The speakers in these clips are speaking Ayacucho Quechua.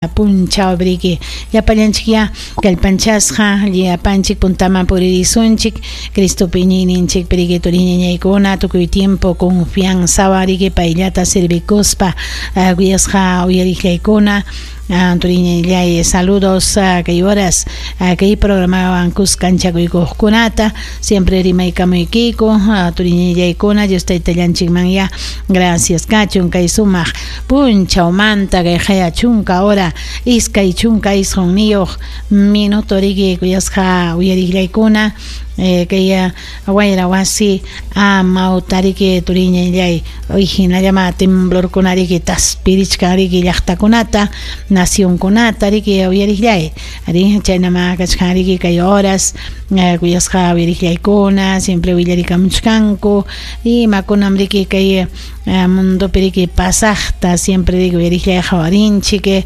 Punchawriki llapallanchikya kallpanchasqa llapanchik puntaman puririsunchik Cristopi iñiyninchikpi riki turiñañaykuna tukuy tiempo confianzawan riki payllata servikuspa kuyasqa uyariqllaykuna. Turiñallay, saludos kay horas kay programawan kuskanchakuykuqkunata siempre rimaykamuykiku turiñallaykuna. Dios taytallanchikmanya gracias kachun kay sumaq punchawmanta kay qaya chunka hora 29 minuto riki kuyasqa uyariqllaykuna kay wayra wasi amawtariki turiñallay hinallama temblorkuna riki taspirichkan riki llaqtakunata nacionkunata riki uyariqllay ari chaynama kachkan riki kay horas kuyasqa uyariqllaykuna siempre willarikamuchkanku imakunam riki kay mundopi riki pasaqta siempre riki uyariqllay qawarinchik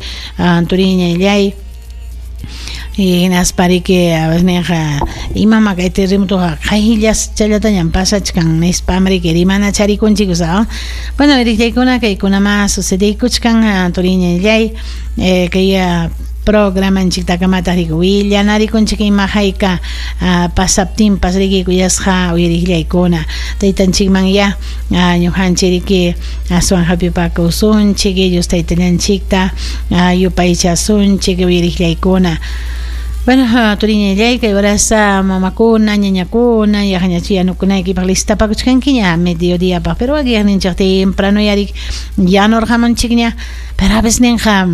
turiñallay. Hinaspa riki ninqa imama kay terremotoqa qayllas challatañam pasachkan nispam riki rimana charikunchik. Bueno, uyariqllaykuna, kaykunama sucedeykuchkan turiñallay kay programanchiktakamata riki willanarikunchik ima hayka pasaptinpas riki kuyasqa uyariqllaykuna taytanchikman ya ñuqanchik riki aswan hapipakusunchik Dios taytallanchikta yupaychasunchik uyariqllaykuna. Bueno, turiñallay, kay horasa mamakuna, ñañakuna, yaqañachu yanukunaykipaq listapakuchkankiña mediodíapaq, pero wakiqninchik temprano yarik yanurqamunchikña, pero a veces ninqa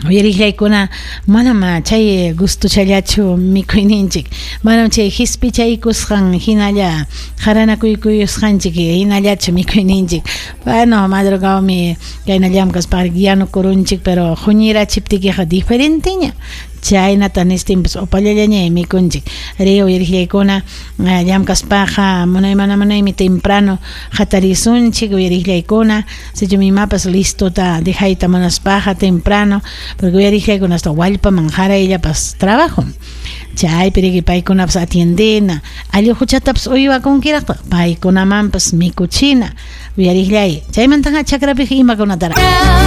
uyariqllaykuna manam chay gustochallachu mikuyninchik, manam chay hispichaykusqan hinalla qaranakuykusqanchik hinallachu mikuyninchik. Bueno, madrugawmi kayna llamkaspa yanukurunchik, pero huñirachiptikiqa diferenteña chaynata nistinpas upallallaña mikunchik. Ri uyariqllaykuna llamkaspaqa munay mana munaymi temprano hatarisunchik uyariqllaykuna sichum imapas listota dejayta munaspaqa temprano, porque uyariqllaykuna hasta wallpaman qarayllapas trabajo chaypi riki paykunapas atiendena alluquchatapas uywakunkiraqtaq paykunamanpas mikuchina uyariqllay. Chaymantaqa chakrapiqa imakunatara